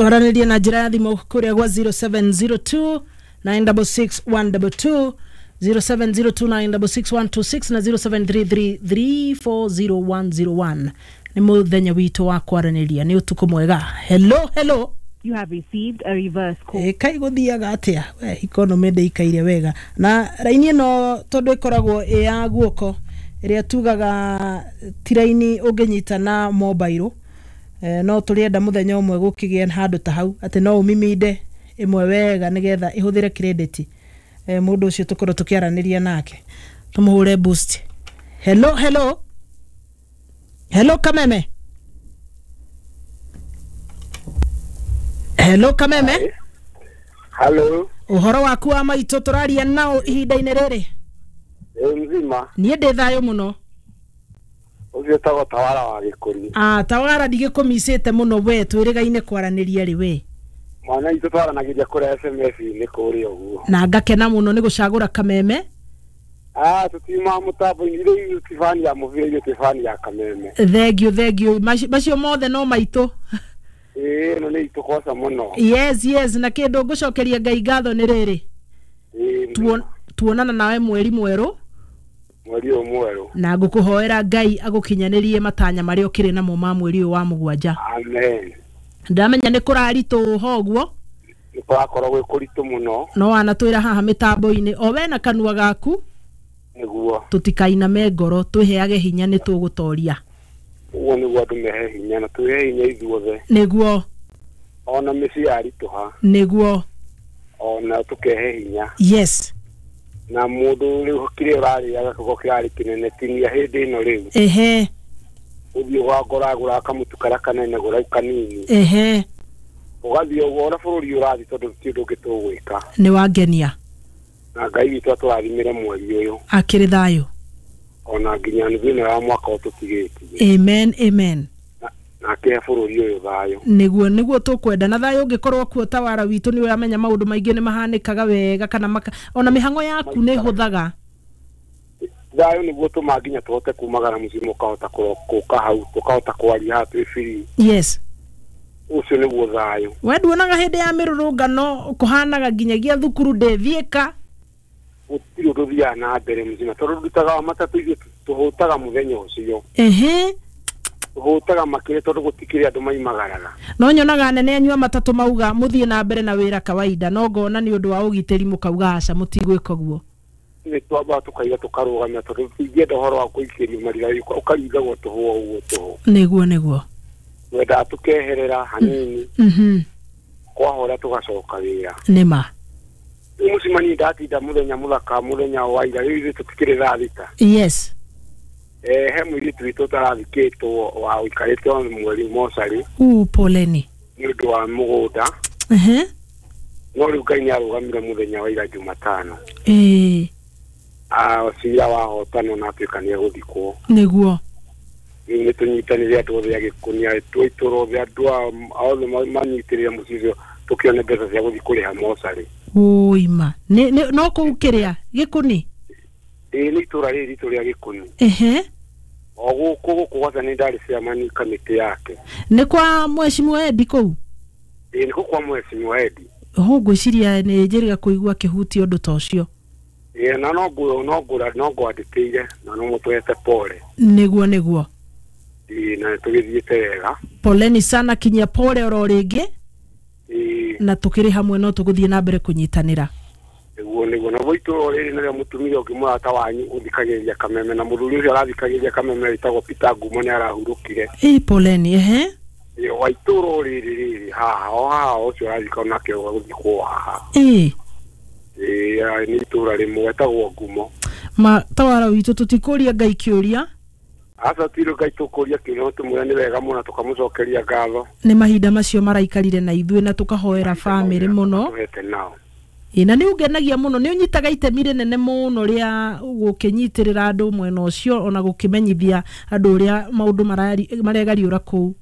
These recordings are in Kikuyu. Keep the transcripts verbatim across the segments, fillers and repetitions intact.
Twaranĩrie na njĩra ya thimũ kũrĩa gwa zero seven zero two nine double six one double two, zero seven zero two nine double six one two six na zero seven three three three four zero one zero one. Nĩ mũthenya witũ wa kwaranĩria, nĩ ũtukũ mwega. Hello, hello. You have received a reverse call. Eh, kai gũthiaga atĩa? We, economy ndĩikaire wega. Na raini ĩno tondũ ĩkoragwo ĩ ya guoko ĩrĩa tugaga ti raini ũngĩnyita na mobile. Eh, no tũrĩenda mũthenya ũmwe gũkĩgĩa handũ ta hau atĩ no ũmiminde ĩmwe wega nĩgetha ĩhũthĩre credit. Eh, mũndũ ũcio tũkorwo tũkĩaranĩria nake tũmũhũre boost. Hello, hello. Hello Kameme. Hello Kameme. Hello. Ũhoro waku wa maitũ tũraria nao ihinda-inĩ rĩrĩ? Ĩ mzima. Niĩ ndĩ thayũ mũno. Ũcio etagwo Tawara wa Gĩkũni. Ah, Tawara ndigĩkũmicĩte mũno we, twĩrĩgaine kwaranĩria rĩ we. Mwana itũ twaranagĩria kũrĩa S M S-inĩ kũrĩa ũguo. Na ngakena mũno nĩ gũcagũra Kameme. Ah, tũtiuma mũtambo-inĩ, rĩu ithuĩ ti bani ya mũbira, ithuĩ twĩ bani ya Kameme. Thengiũ, thengiũ. Macio mothe no maitũ. Ĩĩ, ĩno nĩ itũ kwaca mũno. Yes, yes, na kĩndũ ngũcokeria Ngai ngatho nĩ rĩrĩ. Ĩĩ. Tuonana nawe mweri mwerũ. Mweri ũyũ mwerũ. Na ngũkũhoera Ngai agũkinyanĩrie matanya marĩa ũkĩrĩ namo ma mweri ũyũ wa mũgwanja. Amen. Ndamenya nĩ kũraritũha ũguo. Nĩ kũrakorwo gwĩ kũritũ mũno. No wanatwĩra haha mĩtambo-inĩ o we na kanua gaku. Nĩguo. Tũtikainame ngoro, twĩheage hinya nĩ tũgũtoria. Ũguo nĩguo andũ mehe hinya na twĩhe hinya ithuothe. Nĩguo. Ona mĩciĩ yaritũha. Nĩguo. Ona tũkehe hinya. Yes. Na mũndũ rĩu kĩrĩa ũrarĩaga kĩgo kĩrarĩ kĩnene tinia hĩndĩ ĩno rĩu. Ehe. Ũthiĩ ũgagũra kamũtu karĩa kanene gũra kanini. Ehe. Ũgathiĩ ũguo ona bũrũri ũrathiĩ tondũ ti ũndũ ũngĩ tũgwĩka. Nĩ wangenia. Na Ngai witũ atũrathimĩre mweri ũyũ. Akĩrĩ thayũ. Ona nginya nuthu ĩno ya mwaka ũtũtigĩtie. Amen, amen. Na akĩhe bũrũri ũyũ thayũ. Nĩguo, nĩguo tũkwenda. Na thayũ ũngĩkorwo kuo Tawara witũ nĩ ũramenya maũndũ maingĩ nĩ mahanĩkaga wega kana maka, ona mĩhang'o yaku nĩ ĩhũthaga. Thayũ nĩguo tũma nginya tũhote kumagara mũciĩ mũkahota kũka hau, tũkahota kwaria haha twĩ free. Yes. Ũcio nĩguo thayũ. We nduonaga hĩndĩ ya mĩrũrũngano kũhanaga nginyagia thukuru ndĩthiĩka. Gũtirĩ ũndũ ũthiaga na mbere mũcima tondũ ndutaga wa matatũ ithuĩ tũhũtaga mũthenya ũcio. Ehe. Tũhũtaga makĩria tondũ gũtikĩrĩ andũ maimagaraga. No nyonaga anene anyu a matatũ mauga mũthiĩ na mbere na wĩra kawaida, no ngona nĩ ũndũ wa ũgitĩri mũkauga aca mũtigwĩka ũguo. Nĩ twambaga tũkaiga tũkarũgamia tondũ tũtingĩenda ũhoro wa kũikĩrio marigari ũkaringagwo tũhũ o ũguo tũhũ. Nĩguo, nĩguo. Twendaga tũkeherera hanini. Mhm. Kwahora tũgacoka wĩra. Nĩma. Rĩu mũcemanio ndatinda mũthenya mũthaka mũthenya wa ira rĩu ithuĩ tũtikĩrĩ thaa thita. Yes. Eh, he mũirĩtu witũ ũtarathikĩtwo wa ũikarĩte mweri mocarĩ. U poleni. Nĩ ũndũ wa mũgũnda. Ehe. No rĩu Ngai nĩarũgamire mũthenya wa ira Jumatano. Ĩĩ. Ah, cira wahotanwo na atuĩka nĩegũthikwo. Nĩguo. Rĩu nĩtũnyitanĩre andũ othe a Gĩkũnia, andũ a itũũra othe, andũ othe manyitĩrĩre mũciĩ ũcio tũkĩone mbeca cia gũthiĩ kũrĩha mocarĩ. Ũima. Nĩ, nĩ, no kũu kĩrĩa Gĩkũni? Ĩĩ, nĩ itũũra rĩrĩ ritũ rĩa Gĩkũni. Ehe. O gũkũ gũkũ gwatha nĩ ndarĩ chairman kamĩtĩ yake. Nĩ kwa Mheshimiwa Eddie kũu? Ĩĩ, nĩ kũu kwa Mheshimiwa Eddie. Ho ngwĩciria nĩ njĩrĩga kũigua kĩhuti ũndũ ta ũcio. Ĩĩ, na no ngũ, no ngũra, no ngwandĩkĩire na no mũtwete pole. Nĩguo, nĩguo. Ĩĩ, na tũgĩthiĩte wega. Poleni sana, kinyia pole oro rĩngĩ. Ĩĩ. Na tũkĩrĩ hamwe no tũgũthiĩ na mbere kũnyitanĩra. Nĩguo, nĩguo. Na bo itũũra rĩrĩ nĩrĩo mũtumia ũngĩ mũrata wanyu ũthikagĩrĩria Kameme, na mũthuri ũcio arathikagĩrĩria Kameme wĩtagwo Peter Ngumo nĩ arahurũkire. Ĩĩ, poleni, ehe. Ĩĩ, wa itũũra rĩrĩ rĩrĩ haha, o haha ũcio arathika onake gũthikwo haha. Ĩĩ. Ĩĩ, nĩ itũũra rĩmwe etagwo Ngumo. Ma Tawara witũ tũtikũria Ngai kĩũria. Aca tirĩ Ngai tũkũria kĩũria, no tũmwĩre nĩ wega mũno tũkamũcokeria ngatho. Nĩ mahinda macio maraikarire na ithuĩ na tũkahoera bamĩrĩ mũno. Tũhete nao. Ĩĩ, na nĩ ũngenagia mũno, nĩ ũnyitaga itemi rĩnene mũno rĩa gũkĩnyitĩrĩra andũ mwena ũcio ona gũkĩmenyithia andũ ũrĩa maũndũ maregariũra kũu.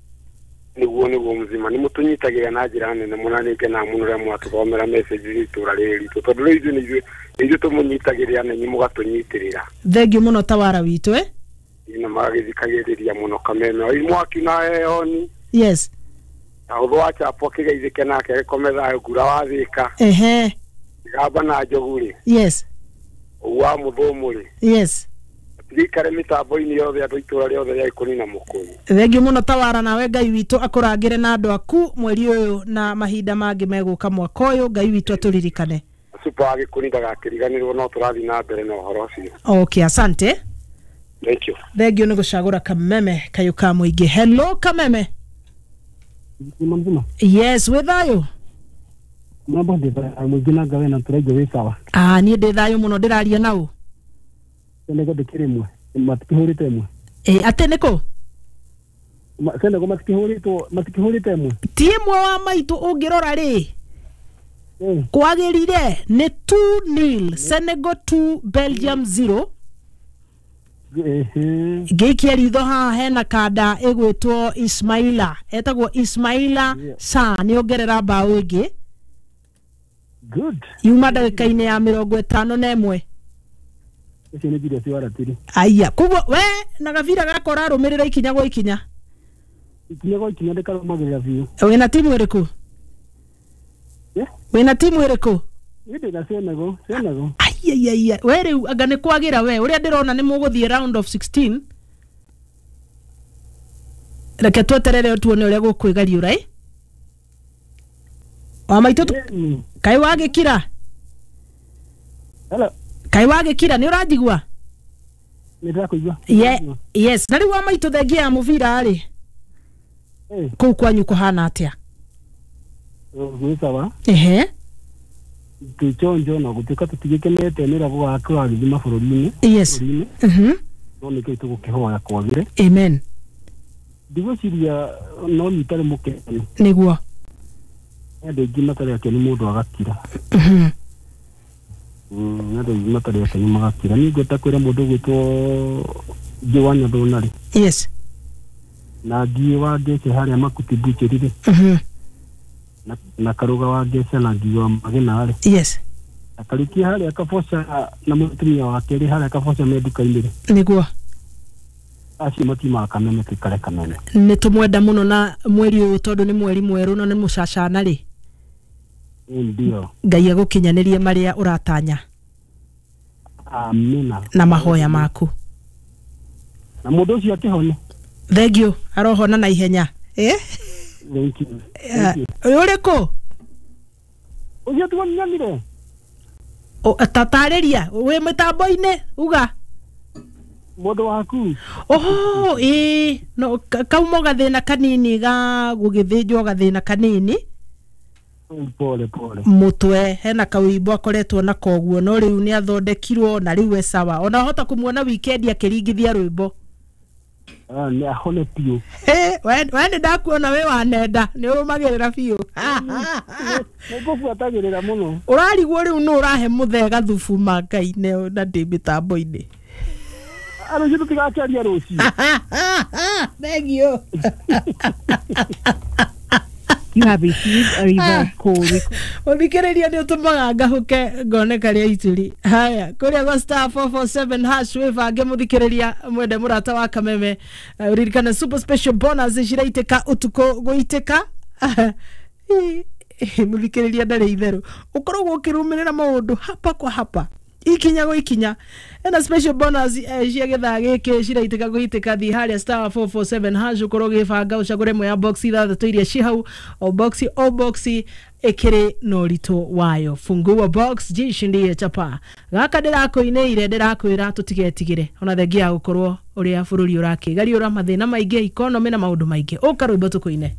Nĩguo, nĩguo mũzima. Nĩ mũtũnyitagĩra na njĩra nene mũno, na nĩ ngenaga mũno rĩrĩa mwatũthomera message cia itũũra rĩrĩ ritũ, tondũ rĩu ithuĩ nĩ ithuĩ, nĩ ithuĩ tũmũnyitagĩrĩra na inyuĩ mũgatũnyitĩrĩra. Thengiũ mũno Tawara witũ, eh? Ĩĩ, na magagĩthikagĩrĩria mũno Kameme. Oi mwaki na heoni. Yes. Na ũthũ wa chapo akĩgeithĩke nake agĩkome thayũ ngura wa thĩka. Ehe. Gamba na njogu rĩ. Yes. Ũguo wa mũthũmũ rĩ. Yes. Tigikare mĩtambo-inĩ yothe andũ itũra rĩothe rĩa Gĩkũni na Mũkũyũ. Thengiũ mũno Tawara, nawe Ngai witũ akũrangĩre na andũ aku mweri ũyũ na mahinda mangĩ megũka mwaka ũyũ. Ngai witũ atũririkane. Super wa Gĩkũni ndagakĩriganĩrwo no tũrathiĩ na mbere na ũhoro ũcio. Okay, asante. Thank you. Thengiũ nĩ gũcagũra Kameme kayũ ka mũingĩ. Hello Kameme. Mzima mzima. Yes, wĩ thayũ? Mambo ndĩ thayũ mũingĩ na ngawe na tũraigua wĩ sawa. Ah, niĩ ndĩ thayũ mũno ndĩraria na ũ? Senegal ndĩkĩrĩ ĩmwe matikĩhũrĩte ĩmwe. Ĩ atĩ nĩkũ? Senegal matikĩhũrĩtwo matikĩhũrĩte ĩmwe. Ti ĩmwe wa maitũ ũngĩrora rĩ. Kwagĩrire nĩ two nil, Senegal two Belgium zero. Ngĩikia ritho haha hena kanda ĩgwĩtwo Ismaila, etagwo Ismaila Sarr, nĩongerera mbaũ ĩngĩ. Good. Yuma ndagĩka-inĩ ya mĩrongo ĩtano na ĩmwe. Ũcio nĩ Julius wa Ratiri. Aya, koguo we na gabira gakwa ũrarũmĩrĩra ikinya gwa ikinya. Ikinya gwa ikinya ndĩkarũmagĩrĩra biũ. Wĩna timu ĩrĩkũ? Wĩna timu ĩrĩkũ? Niĩ ndĩna Senegal, Senegal. Ai ai ai, we rĩu anga nĩ kwagĩra we, ũrĩa ndĩrona nĩ mũgũthiĩ round of sixteen. Reke tweterere tuone ũrĩa gũkwĩgariũra ĩ. Wa maitũ kaĩ wagĩkira? Hello. Kaĩ wagĩkira nĩ ũranjigua? Nĩ ndĩrakũigua. Yes, na rĩu wa maitũ thengia ya mũbira rĩ. Kũu kwanyu kũhana atĩa? Gwĩ sawa. Ehe. Twĩchonjo na gũtuĩka tũtigĩkenete nĩ ũrĩa kũragĩthiĩ mabũrũri-inĩ. Yes. Mhm. No nĩkĩo tũgũkĩhoya kwagĩre. Amen. Ndigwĩciria no niĩ itarĩ mũkenu. Nĩguo. Andũ aingĩ matarĩ akenu mũndũ agakira. Mhm. Mm, andũ aingĩ matarĩ akenu magakira. Niĩ ngwenda kwĩra mũndũ ũgwĩtwo Ngĩ wa Nyathũna rĩ. Yes. Na Ngĩ wa Ngece harĩa Makuti Butchery rĩ. Mhm. Na, na Karuga wa Ngece na Ngĩ wa Magena rĩ. Yes. Na Kariuki harĩa Kaboca na mũtumia wake rĩ harĩa Kaboca me nduka-inĩ rĩ. Nĩguo. Acio matiumaga Kameme tũikare Kameme. Nĩ tũmwenda mũno na mweri ũyũ tondũ nĩ mweri mwerũ na nĩ mũcacana rĩ. Ndio. Ngai agũkinyanĩrie marĩa ũratanya. Amina. Na mahoya maku. Na mũndũ ũcio akĩhone. Thengiũ, arohona na ihenya. Eh? Thank you. Thank you. Ũrĩkũ? Ũcio tuonanire. O tatarĩria wĩ mĩtambo-inĩ uga. Mũndũ waku. Oho, ĩ no kauma gathĩna kanini ga gũgĩthĩnjwo gathĩna kanini. Pole pole. Mũtwe hena kawimbo akoretwo na koguo no rĩu nĩ athondekirwo na rĩu e sawa. Ona hota kũmuona weekend akĩringithia rwĩmbo. Ah, nĩ ahone biũ. Eh, we we nĩ ndakuona wĩ wa nenda, nĩ ũrũmagĩrĩra biũ. Nĩ ngũbuatagĩrĩra mũno. Ũrarigwo rĩu nũ ũrahe mũthee gathubu ma Ngai na ndĩ mĩtambo-inĩ. Rũciũ tũtigakĩaria rũciũ. Thengiũ. You have received a reverse call. Mũthikĩrĩria nĩ ũtũmaga ngahũke ngoneka rĩa ituri. Haya, kũrĩa gwa star four four seven hash wĩbange mũthikĩrĩria mwende mũrata wa Kameme. Ũririkane super special bonus ciraitĩka ũtukũ gũitĩka. Mũthikĩrĩria ndarĩ itherũ. Ũkoragwo ũkĩrũmĩrĩra maũndũ hapa kwa hapa. Ikinya go ikinya. Ena special bonus eh, cia gĩthaa gĩkĩ ciraitĩka gũitĩka thiĩ harĩa star four four seven hash ũkorwo ũgĩbanga ũcagũre ĩmwe ya box ithathatũ iria ci hau o box o box ĩkĩrĩ na ũritũ wayo. Fungua box jishindie chapa. Gaka ndĩrakũinĩire ndĩrakwĩra tũtigetigĩre ona thengia ya gũkorwo ũrĩa bũrũri ũrakĩgariũra mathĩna maingĩ economy na maũndũ maingĩ. Ũka rwĩmbo tũkũine.